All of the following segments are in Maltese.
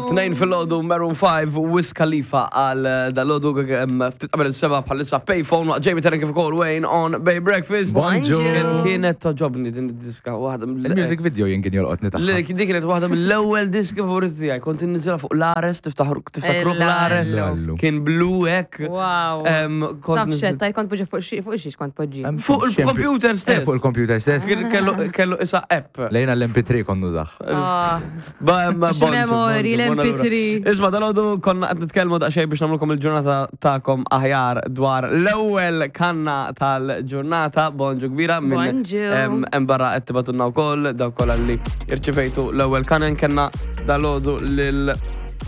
Tnejn fil-ħodu Maroon 5 u Wiz Khalifa għal eh, dal-ħodu ftit qabel il-seba bħalissa Payphone waqt Jamie Terren kif ukoll Wayne on Bay Breakfast. Bonġu. Kien- Kienet toġobni din id-diska waħda mill- Il-music video jien kien jolqotni Le, tagħha. Dik kienet waħda mill-ewwel diski favoriti tiegħi. Kont inniżilha fuq l-Ares, tiftaħru tiftakruh l-Ares. Allu. Kien blu hekk. Wow. Em, kont Taf niżil- xed, kont poġġi fuq xi- fuq xiex kont poġġi. Fuq il-computer stess. Eh, Fuq il-computer stess. Kien- Kellu kellu isa app. Lejna l-MP3 kon nużax. Ah. Ba- ma- bonġu, X'memori, bonġu, buona l-MP3. lura. Isma, dal-għodu konna qed nitkellmu daqsxejn biex nagħmlukom il-ġurnata tagħkom aħjar dwar l-ewwel kanna tal-ġurnata. Bonġu kbira minn Bonġu. em, hemm barra qed tibatunna wkoll dawk kollha li irċivejtu l-ewwel kanen kellna dal-għodu lil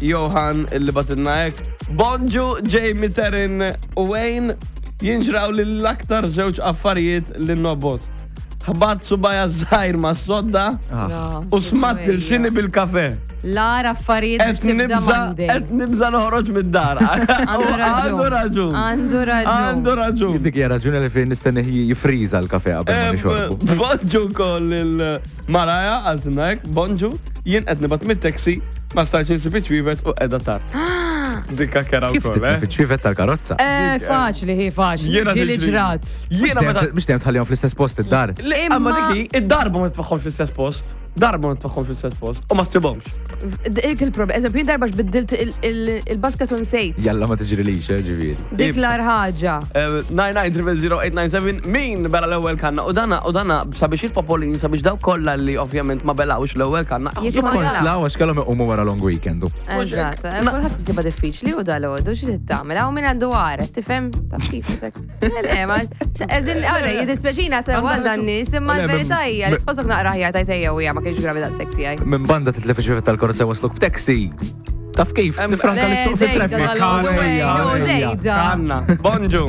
Johan illi batilna hekk. Bonġu Jamie Terrin u Wayne jinġraw lil aktar żewġ affarijiet li nobot. Ħbat subaja żgħir ma' sodda Ah. u smat il-xini bil-kafe. L-ar affarijiet biex Qed tibda nibża, Monday. qed nibża noħroġ mid-dar. Għandu raġun. Għandu raġun. Għandu raġun. Għandu raġun. Dik hija raġuni li fejn nistenni jifriża l-kafe qabel ma nixorbu. Bonġu koll il-Maraja, għaltina hekk, bonġu, jien qed nibgħat mit-taxi, ma stajtx insib iċ-ċwievet u qiegħda tard. Dikka kera Kif wkoll, titlef eh? iċ-ċwievet tal-karozza? Eh, faċli, hi faċli. Jiena Ġieli tiġri. ġrat. Jiena meta. Mhux dejjem tħallihom fl-istess post id-dar. Le, Imma Imma- dik hi, id-darba ma tfaħħomx fl-istess post. Darba ma tfaħħomx fl-istess post. U ma ssibhomx. Dik il-problem. Eżempju, jien darba x'biddilt il-basket u nsejt. Jalla ma tiġrilix, eh, ġifieri. Dik l-ar ħaġa. 9900897 min bela l-ewwel kanna u dana u dana sabiex il-popolin sabiex daw kollha li ovvjament ma belawx l-ewwel kanna. Jekk ma Konslaw għax kellhom iqumu wara long weekend. Eżatt. Kulħadd isibha diffiċli u dal-għodu xi tagħmel hawn min għandu għaret, tifhem? Taf kif isek. Le, le, ma eżin għara jiddispjaċina ta' għal dan nies imma Le, l-verità hija li tħossok naqra ħjar tajt ejja u hija ma kienx gravi daqshekk tiegħi. Minn banda titlef iċ-ċwievet tal-karozza wasluk b'taxi. Taf kif? Tifranka Le, l-suq zejda fit-traffic. dal-għodu, Ejja, Wayne, u ejja. zejda. Kanna. Bonġu.